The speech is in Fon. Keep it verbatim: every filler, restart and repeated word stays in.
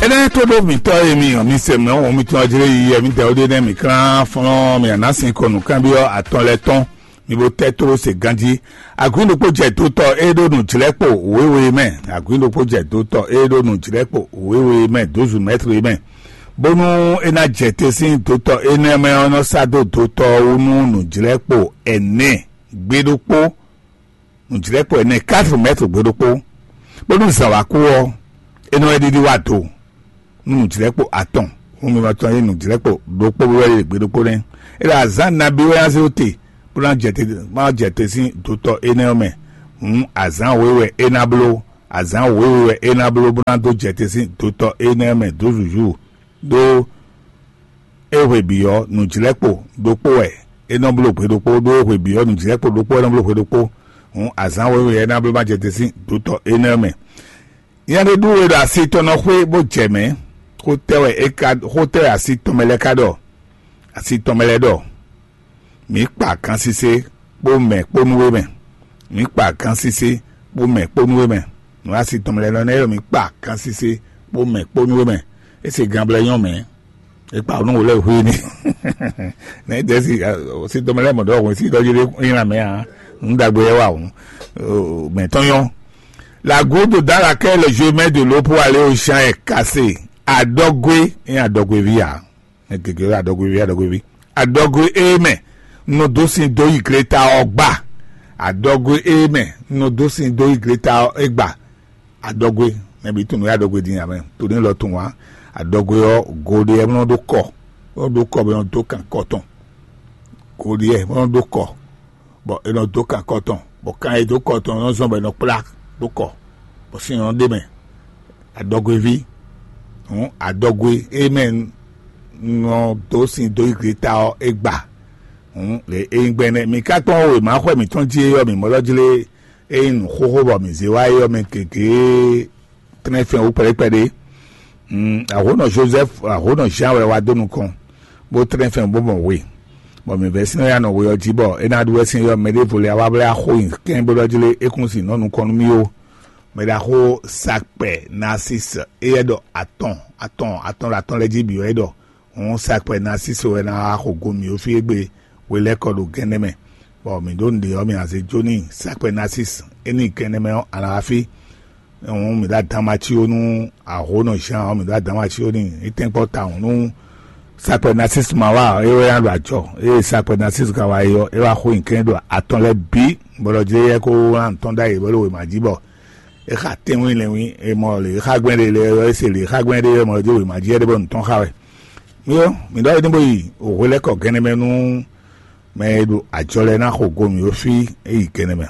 Énɛ́ tó ɖó mǐtɔn e mi ɔ́, mi se mɛ wɔn mitɔn ɔ́ jlé yi, mi dɛ ó ɖe nɛ́ mi klán flɔ́n mi ana sin kɔ nǔkanbyɔ́ atɔn lɛ́ɛ tɔn, mi bo tɛ́ tló se ganjí. Agun ɖokpó jɛ dotɔ e ɖó nǔjlɛ́kpo wěwe mɛ. Agun ɖokpó jɛ dotɔ e ɖó nǔjlɛ́kpo wěwe mɛ dǒzu mɛtri mɛ, bónú é ná jɛ te sín dotɔ énɛ́ mɛ ɔ́, nɔ sá dó dotɔ ɔ́ wú nú nǔjlɛ́kpo ɛnɛ gbé ɖokpó, nǔjlɛ́kpo ɛnɛ quatre mètres gbé ɖokpó, bónú zǎn wá kú ɔ́, é nɔ wɛ ɖiɖi wá do nú nǔjlɛ́kpo atɔn. Hǔn mi ma tɔn yí nǔjlɛ́kpo ɖokpó wɛ ɖe gbé ɖokpó nɛ́. É ɖo azǎn nabí wɛ ná zé te, bó ná jɛ te, má jɛ te sín dotɔ énɛ́ ɔ́ mɛ. Hǔn azǎn wěwe wɛ é ná bló, azǎn wěwe wɛ é ná bló bó ná dó jɛ te sín dotɔ énɛ́ ɔ́ mɛ dó zǔzú, ɖó é hwe bǐ ɔ́, nǔjlɛ́kpo ɖokpó wɛ é nɔ bló hwe ɖokpó, ɖó é hwe bǐ ɔ́, nǔjlɛ́kpo ɖokpó wɛ é nɔ bló hwe ɖokpó. Hǔn azǎn wěwe ɔ́ é ná bló má jɛ te sín dotɔ énɛ́ ɔ́ mɛ. Nya ɖé ɖu we ɖo asi tɔn nɔ xwé bó jɛ mɛ̌. Xó tɛ́ wɛ é ka xó tɛ́ wɛ asi tɔn mɛ lɛ́ɛ ka ɖɔ? Asi tɔn mɛ lɛ́ɛ ɖɔ: Mǐ kpa gansise kpó mɛ kpó nú we mɛ. Mǐ kpa gansise kpó mɛ kpó nú we mɛ. Nǔ asi tɔn mɛ lɛ́ɛ nɔ nɛ́ ɖɔ: Mǐ kpa gansise kpó mɛ kpó nú we mɛ. É se ganblɛ́ nyɔ́ mɛ. É kpa nú wǒ lɛ́ɛ hwé ní. Nɛ̌ dɛ̌ si si tɔn mɛ lɛ́ɛ mɔ ɖɔ hwɛ̌n sí ɖɔ jí ɖé nyí lanmɛ ǎ. Nǔ ɖagbe wɛ wá hǔn. Mɛ tɔn nyɔ́. La goutte dans laquelle je mets de l'eau pour aller au champ est cassée. Adɔgwe é adɔgweví ǎ. Mɛ gěgé wɛ adɔgweví, adɔgweví. Adɔgwe é mɛ nɔ dó sin dó yi gleta ɔ́ gba. Adɔgwe é mɛ nɔ dó sin dó yi gleta ɔ́ é gba. Adɔgwe, mɛ bǐ tunwun wɛ adɔgwe din amɛ. To ní lɔ tunwun wá. Adɔgwe ɔ́, go ɖé ɔ́ nɔ ɖó kɔ. Nɔ ɖó kɔ bɔ nɔ dó kan kɔ tɔn. Go ɖé ɔ́ nɔ ɖó kɔ, bɔ è nɔ dó kan kɔ tɔn, bɔ kan e dó kɔ tɔn nɔ zɔn bɔ è nɔ kplá dó kɔ, bɔ sin nɔ ɖ'é mɛ. Adɔgweví, hǔn adɔgwe e mɛ nɔ dó sin dó yi gleta ɔ́ é gba. Hǔn lě e nyí gbɛ́nɛ́. Mǐ ka kpɔ́n wěma xwɛ mǐtɔn jí é ɔ́, mǐ mɔ ɖɔ jlé é nyí nǔ xóxó bɔ mǐ zé wá é ɔ́ mɛ gěgé. Tɛ́nɛfɛn wú kpɛɖékpɛɖé. Ahǒnɔ Jozɛ́fu, ahǒnɔ Zan wɛ wá dó nukɔn, bó tlɛ́n fɛn bó mɔ we, bɔ mǐ vɛ́ sín ɔ́ ya nɔ we ɔ́ jí, bɔ é ná ɖu wɛ sín yɔ mɛ ɖěvo lɛ́ɛ wá blɛ́ axó nyi kɛ́n bó ɖɔ jí lé é kún sin nɔ́ nukɔn nú mì ó. Mɛ ɖaxó Sakpɛ Nasísi, éyɛ́ ɖɔ atɔn atɔn atɔn ɖo atɔn lɛ́ɛ jí bǐ wɛ é ɖɔ. Hǔn Sakpɛ Nasísi wɛ ná wá xo go mǐ ó fí égbé hwe lɛ́ kɔ ɖo gɛ́nɛ́ mɛ, bɔ mǐ ɖó nǔɖé ɔ́, mǐ ná zé jó n'i. Sakpɛ Nasísi, é nyi gɛ́nɛ́ mɛ ɔ́, a nǎ wá fí. Hǔn mǐ ɖo adǎn ma cí ó nú ahǒnɔ Zan ɔ́, mǐ ɖo adǎn ma cí ó n'i. É tɛ́nkpɔ́ tawun nú Sakpɛ Nasísi ma wá ɔ́, é wɛ ná ɖo ajɔ. Ée Sakpɛ Nasísi ka wá yi ɔ́, é wá xo nyi kɛ́n ɖo atɔn lɛ́ɛ bǐ, bɔ ɖɔ jí éyɛ́ kó wlán nǔ tɔn ɖ'ayǐ bó ɖo wěma jí, bɔ é xa tɛ́nwín lɛ́nwín, è mɔ lě e xa gbɛn ɖe lɛ́ɛ ɔ́, é se lě e xa gbɛn ɖe ɔ́, è mɔ ɖɔ jí wěma jí wɛ ɖe bɔ nǔ tɔn xa wɛ. Mí ɔ́, mǐ ɖɔ é ní bó yi hwelɛ́kɔ gɛ́nɛ mɛ nú mɛ e ɖo ajɔ lɛ́ɛ ná xo go mǐ ó fí é yi gɛ́nɛ mɛ.